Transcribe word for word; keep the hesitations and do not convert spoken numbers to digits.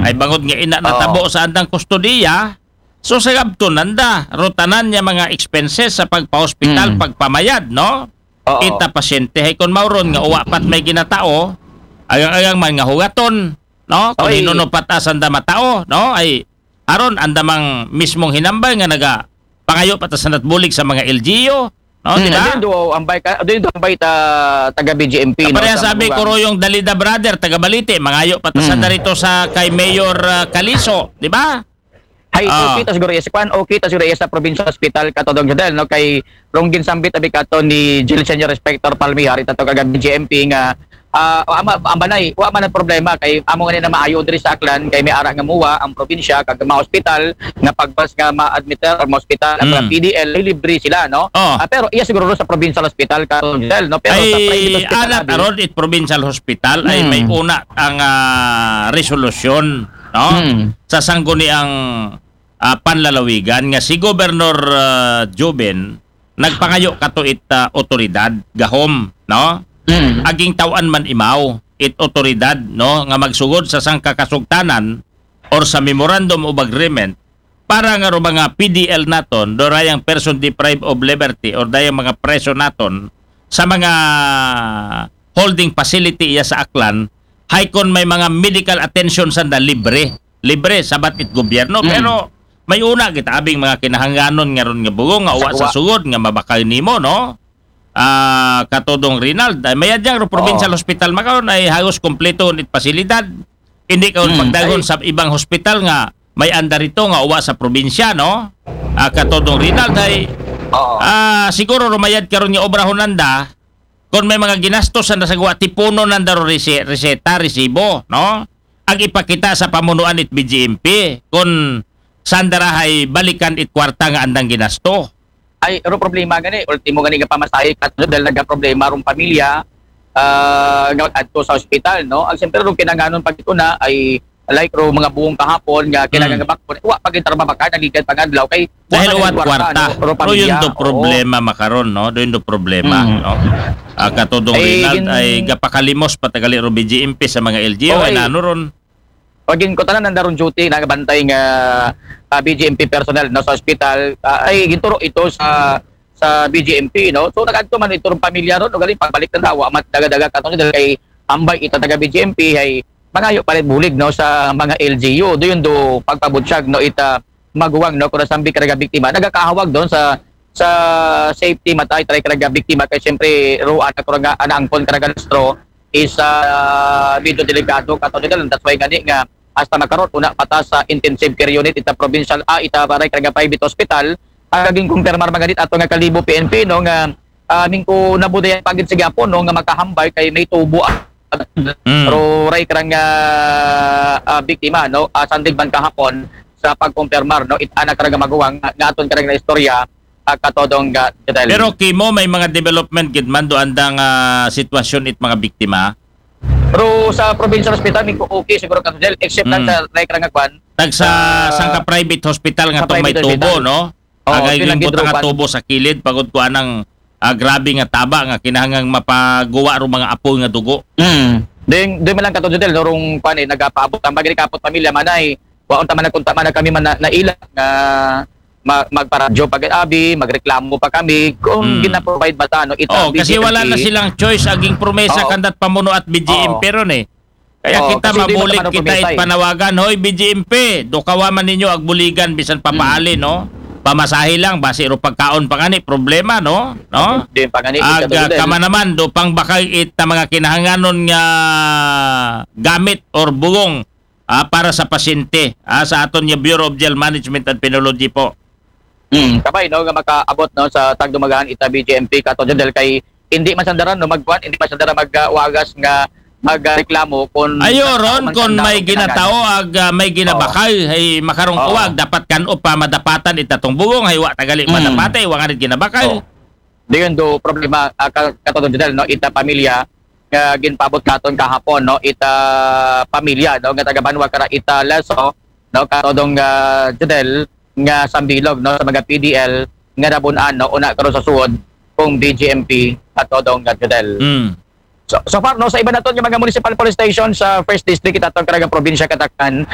Ay bangod nga ina natabo sa andang kustodiya, so sagabton nanda, ro tanan niya mga expenses sa pagpa-hospital, Mm. pagpamayad, no? Oo. Ita pasyente, hay kon mauron nga uwa pat may ginatao, agang-agang man nga hugaton, no? Kung Oy. hinuno pat asanda matao, no? Ay, aron anda mang mismong hinambal nga naga pangayo pat asanda't bulig sa mga L G U, no? Hmm, Di ba? Doon do ambay ka, doon do ambay ta taga B J M P, no, Pareha sa sabi mga ko ro yung Dalida Brother, taga Balite, mangayo pat asanda Hmm. rito sa kay Mayor ah, Caliso, di ba? Hay, Ah. okay ta siguro yes kwan, okay ta siguro yes sa provincial hospital, Katodong Jodel, no, kay rong ginsambit abi kato ni Jill Senior Inspector Palmihar, ita to kaga B J M P nga ah, wa ma, ang banay, wa man ang problema kay amo nga na maayo diri sa Aklan kay may ara nga muwa ang probinsya kag ma-hospital nga pagbas nga ma-admit or ma-hospital ang mga Mm. P D L ay libre sila, no? Oh. Ah, pero iya siguro sa provincial hospital, Katodong Jodel, no? Pero sa Ay, private hospital, alat abi, aron it provincial hospital ay Hmm. may una ang ah, resolusyon, no? Hmm. Sa sangguniang ah, panlalawigan nga si Gobernador ah, Joben nagpangayo kato it ah, otoridad gahom, no? Hmm. Aging taw-an man imaw it otoridad, no, nga magsugod sa sangka kasugtanan or sa memorandum of agreement para nga ro mga P D L naton, do rayang person deprived of liberty or dayang mga preso naton sa mga holding facility iya sa Aklan, hay kon may mga medical attention sanda libre, libre sabat it gobyerno, Mm. pero may una kita abing mga kinahanglanon nga ron nga bugong nga uwa sa Sa uwa. sugod nga mabakal nimo, no? Ah, Katodong Rinald, ay mayad yang ro provincial Oo. hospital makaron ay halos kompleto it pasilidad. Hindi ka Mm. pagdagon Ay. Sa ibang hospital nga may anda rito nga uwa sa probinsya, no? Ah, Katodong Rinald ay Oo. ah, siguro rumayad karon nga obrahon nanda kung may mga ginastos na sa guwa tipuno nanda ro rese- reseta, resibo, no? Ag ipakita sa pamunuan it B J M P kung saan darahay balikan it kwarta nga andang ginasto. Ay, ro problema gani, ultimo gani nga pamasahe, Katodong, dahil nagka-problema rong pamilya ah, nga adto sa ospital, no? Ang siyempre ro kinanganon pag ito na ay like ro mga buong kahapon nga kinahanglan Mm. nga bakpon, wa pa gid tara mabakal, naligan pang adlaw kay Dahil wa uwat pa kwarta. no? Ro Pero yun pamilya, do oo. Problema makaron, no? Doon do problema, Mm. no? Ah, Katodong Ay, Rinald gin- ay gapakalimos patagali ro B J M P sa mga L G U, Oo, ay ay. nano ron. Pagin ko tanan nanda ron duty, nagabantay nga ah, B J M P personnel, no, sa ospital, ah, ay ginturo ito sa sa B J M P, no? So nagadto man ito rong pamilya ron, no, galing pagbalik na dawa, mat daga-daga katong dahil kay ambay ita taga B J M P ay mangayo pa rin bulig, no, sa mga L G U. Do yun do pagpabutyag, no, ita maguwang, no, kung nasambi ka naga biktima, nagakahawag doon sa sa safety matay try ka naga biktima kay siyempre ruan ako nga anaangkon ka naga lustro is ah, medyo delikado katong dahil. That's why gani nga hasta makarot una pata sa intensive care unit ita provincial ah ita baray ka naga private hospital. Ang naging kumpirmar mga dit ato nga Kalibo P N P, no, nga ah, mingko nabudayan pagid sa gyapon, no, nga makahambal kay may tubo ah, Mm. pero ray karang ah, ah, biktima, no, ah, sandig man kahapon sa pagkumpirmar, no, it anak karang maguwang nga, nga aton karang na istorya ah, Katodong ah, Jodel. Pero kimo may mga development gid man do andang ah, sitwasyon it mga biktima. Pero sa provincial hospital, mingko okay siguro, Katodong Jodel, except lang Mm. sa ray karang kwan. Tag sa Ah, sangka private hospital nga sa tong may private tubo, hospital. No? Oo, Agay yun ang gimbutang nga gidrupan. Tubo sa kilid pagod ko anang ah, grabe nga taba nga kinahanglang mapaguwa ro mga apoy nga dugo. Mm. Ding, ding man lang, Katodong Jodel, no, rong kwan eh, nagapaabot ang bagay kapot pamilya manay. Wa unta man nagkunta man kami man na, naila nga ma, magparadyo pag abi, magreklamo pa kami kung Mm. gina-provide ba ta, no, ita Oh, kasi B J M P. Wala na silang choice aging promesa Oo. Kandat pamuno at B J M Oo. P ron eh. Kaya Oo, kita kasi di mabulig naman kita promesa it eh. Panawagan, hoy B J M P, do kawa man ninyo agbuligan bisan papaali, no? Pamasahe lang, basi ro pagkaon pa gani problema, no? No? Di pa gani, Ag Katodong Jodel. Kama naman do pang bakay it na mga kinahanganon nga gamit or bugong ah, para sa pasyente ah, sa aton nga Bureau of Jail Management and Penology po. Mm, kabay, no, nga makaabot, no, sa tagdumagahan ita B J M P, Katodong Jodel, kay hindi masandaran, no, magkuan, hindi masandaran magwagas nga magreklamo kung Ayo sa ron taong kung sanda may ang ginatao kinahanglan. ag ah, may ginabakal ay makarong Oo. Kuwag dapat kan-o pa madapatan ita tong bugong hay wa tagali Mm. madapatay wa nga rin ginabakal. Oo. Di yun do problema, ah, ka- Katodong Jodel, no, ita pamilya nga ginpabot katon kahapon, no, ita pamilya, no, nga taga Banwa kara ita Leso, no, Katodong ah, Jodel, nga sambilog, no, sa mga P D L nga nabun-an, no, una karon sa suod kung B J M P, Katodong ah, Jodel. Mm. So, so far, no, sa iba naton nga mga municipal police station sa First District, ita tong karang probinsya Katakan,